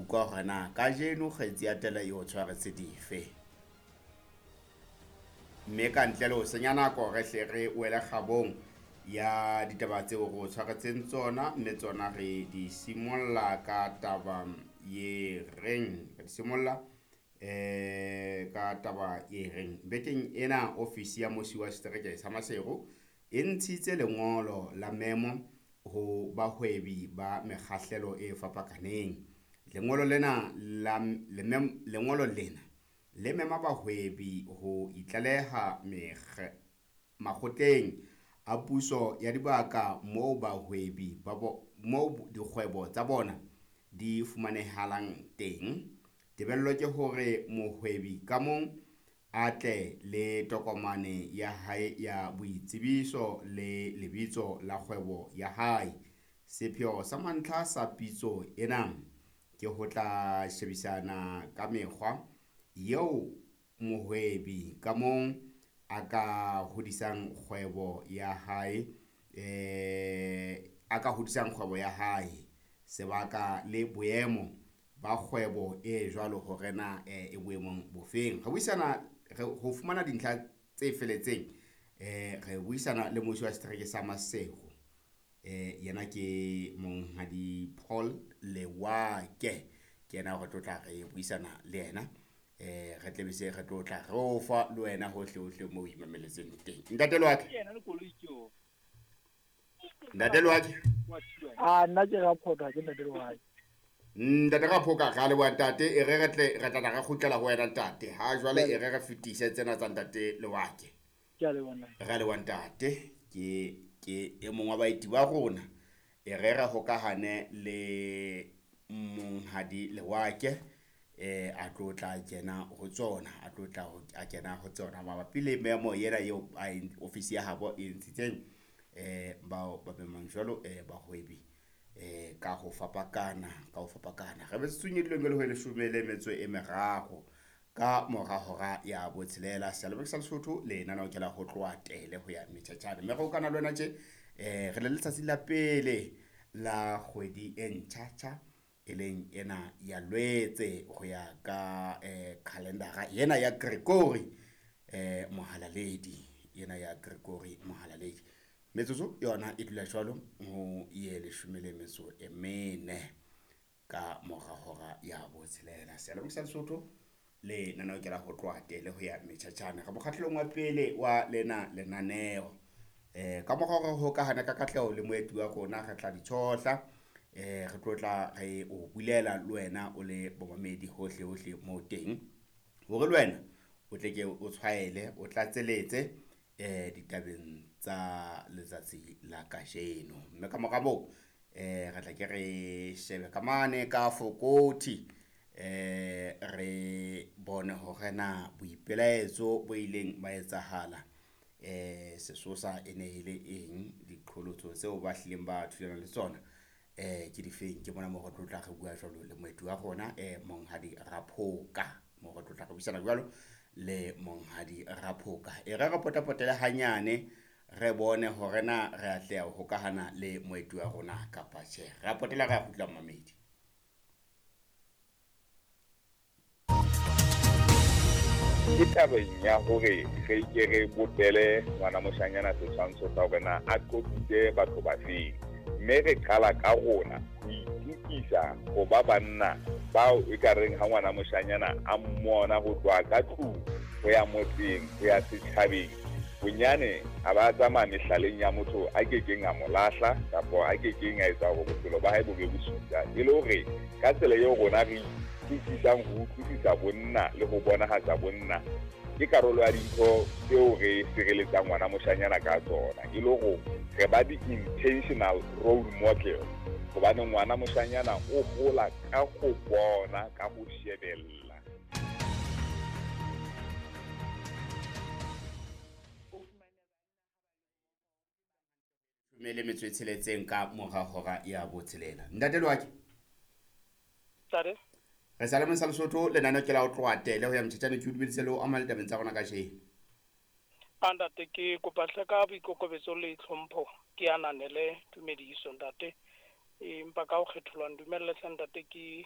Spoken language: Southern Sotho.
utlwa hore na kajeno kgetsi ya tele e o tshwaretse dife. Mme ka ntle le ho senya nako re hle re wele kgabong ya ditaba tseo re o tshwaretseng tsona, mme tsona re di simolla ka taba ye reng, re di simolla ka taba e reng bekeng ena ofisi ya musi wa setereke sa Maseru e ntshitse lengolo la memo ho bahwebi ba mekgahlelo e fapakaneng. Lengolo lena la lengolo lena le mema bahwebi ho itlaleha makgotleng a puso ya dibaka moo bahwebi ba moo dikgwebo tsa bona di fumanehalang teng. Tebello ke hore mohwebi ka mong a tle le tokomane ya hae ya boitsebiso le lebitso la kgwebo ya hae. Sepheo sa mantlha sa pitso ena ke ho tla shebisana ka mekgwa eo mohwebi ka mong a ka hodisang kgwebo ya hae, a ka hodisang kgwebo ya hae, sebaka le boemo ba kgwebo e jwalo hore na e boemong bofeng. Re buisana re ho fumana dintlha tse feletseng, re buisana le mmusi wa setereke sa Maseru, yena ke Monghadi Paul Lewake. Ke yena re tlo tla re buisana le yena, re tle be se re tlo tla re o fa le wena hohle hohle moo o imameletseng teng. Ntate Lewake, Ntate Lewake. A nna ke Raphoka, ke Ntate Lewake. Ntate Raphoka, re a leboha ntate. E re re tle re tla re kgutlela ho wena ntate. Ha jwale e re re fetise tsena tsa Ntate Lewake. Ke a leboha. Re a leboha ntate. Ke e mong wa baeti ba rona. E re re hokahane le Monghadi Lewake, a tlo tla kena ho tsona, a tlo tla a kena ho tsona mabapi le memo ena eo ofisi ya habo e ntshitseng, bao ba memang jwalo, bahwebi ka ho fapakana, ka ho fapakana. Re metsotsong e dileng le ho leshome le metso e meraro ka mora hora ya botshelela. Seyalemoya sa Lesotho lenaneo ke la ho tloha tele ho ya metjhatjhane. Mme re hokana le wena tje, re le letsatsi la pele la kgwedi e ntjha-tjha, e leng ena ya Lwetse ho ya ka calendar ena ya Gregory Mohalaledi, ena ya Gregory Mohalaledi. Metsotso yona e dula jwalo ho ye leshome le metso e mene ka mora hora ya botshelela. Seyalemoya sa Lesotho lenaneo ke la ho tloha tele ho ya metjhatjhane. Re mokgahlelong wa pele wa lena lenaneo. Ka mora hore ho hokahane ka katleho le moeti wa rona, re tla di tshohla, re tlo tla re o bulela le wena o le bomamedi hohle hohle moo teng, hore le wena o tle ke o tshwaele, o tlatseletse ditabeng tsa letsatsi la kajeno. Mme ka mora moo, re tla ke re shebe ka mane ka Fokothi, re bone hore na boipelaetso bo ileng ba etsahala, sesosa e ne e le eng, diqholotso tseo ba hlileng ba thulana le tsona ke difeng. Ke mona moo re tlo tla re bua jwalo le moeti wa rona, Monghadi Raphoka, moo re tlo tla re buisana jwalo le Monghadi Raphoka. E re re potapotele hanyane re bone hore na re atleha ho hokahana le moeti wa rona kapa tjhe. Re a potela, re a kgutla mmamedi. Ke tabeng ya hore re ke re bopele ngwana moshanyana setshwantsho sa hore na a qoqitse batho ba feng, mme re qala ka rona ho itukisa ho ba banna bao e ka reng ha ngwana moshanyana a mmona ho tloha ka tlung ho ya motseng ho ya setjhabeng, bonyane a ba tsamaya mehlaleng ya motho a kekeng a mo lahla kapa a kekeng a etsa hore bophelo ba hae bo be bosula. E le hore ka tsela eo rona re itukisang ho utlwisisa bonna le ho bonahatsa bonna, ke karolo ya dintho tseo re sireletsang ngwana moshanyana ka tsona, e le hore re ba di-intentional role model, hobane ngwana moshanyana o hola ka ho bona, ka ho shebella. Mme le metso e tsheletseng ka mora hora ya botshelela. Ntate Lewake. Ntate. Re sa le mona sa Lesotho, lenaneo ke la ho tloha tele ho ya metjhatjhane. Ke o dumedise le ho ama ditabeng tsa rona kajeno. Ntate, ke kopa hle ka boikokobetso le tlhompho ke ananele tumediso ntate. Empa ka ho kgetholwa ndumelle hle ntate ke